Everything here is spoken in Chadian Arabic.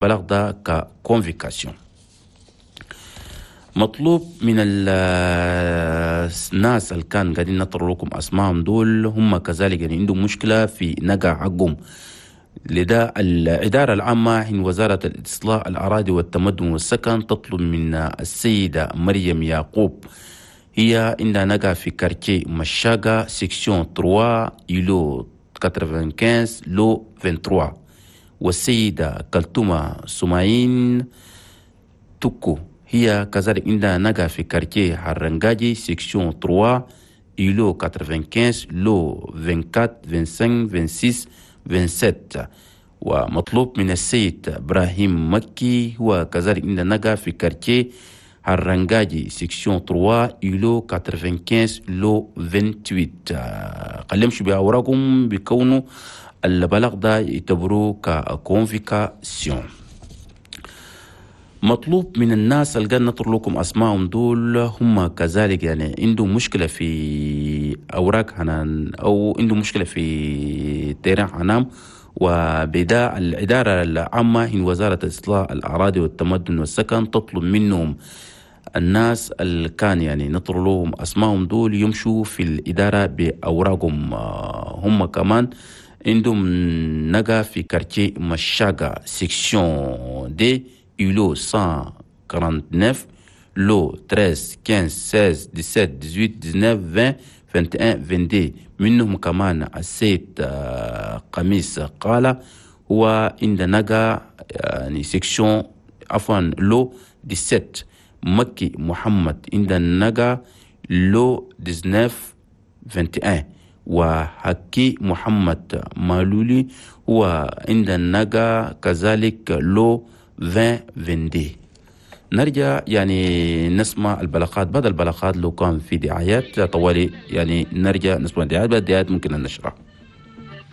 البلاغ ده ك convocation. مطلوب من الناس اللي كان قاعدين نطر لكم اسمائهم دول، هم كذلك يعني عندهم مشكلة في نقع حقهم. لذا الإدارة العامة حين وزارة الإصلاح الأراضي والتمدن والسكن تطلب من السيدة مريم يعقوب، هي عندها نقع في quartier مشاقة، section 3، îlot 95، lot 23، والسيدة كلتومة سماعين توكو، هي كذلك عندها نقع في quartier حرنجاجي، section 3، îlot 95، lot 24، 25، 26، 27. ومطلوب من السيد إبراهيم مكي، هو كذلك عندها نقع في quartier هرنجاجي، section 3، îlot 95، lot 28. خليهم يمشوا بأوراقهم بيكونوا البلاغ ده يعتبروه ك convocation. مطلوب من الناس اللي قاعد نطر لكم اسمائهم دول، هم كذلك يعني عندهم مشكلة في اوراق هنان او عندهم مشكلة في terrain هنام، وبدا الادارة العامة هي وزارة اصلاح الاراضي والتمدن والسكن تطلب منهم الناس اللي كان يعني نطر لهم اسمائهم دول يمشوا في الادارة باوراقهم. هم كمان عندهم نقا في quartier مشاقة، section deux، îlot 149، lot 13، 15، 16، 17، 18، 19، 20، 21، 22. منهم كمان السيد قميص قال هو عند نقا يعني section، عفوا، lot 17. مكي محمد عند نقا lot 19، 21. وحكي محمد مالولي هو عند النقا كذلك lot 20، 22. نرجع يعني نسمع البلاغات. بعد البلاغات لو كان في دعايات طوالي يعني نرجع نسمع الدعايات. بعد الدعايات ممكن أن نشرح.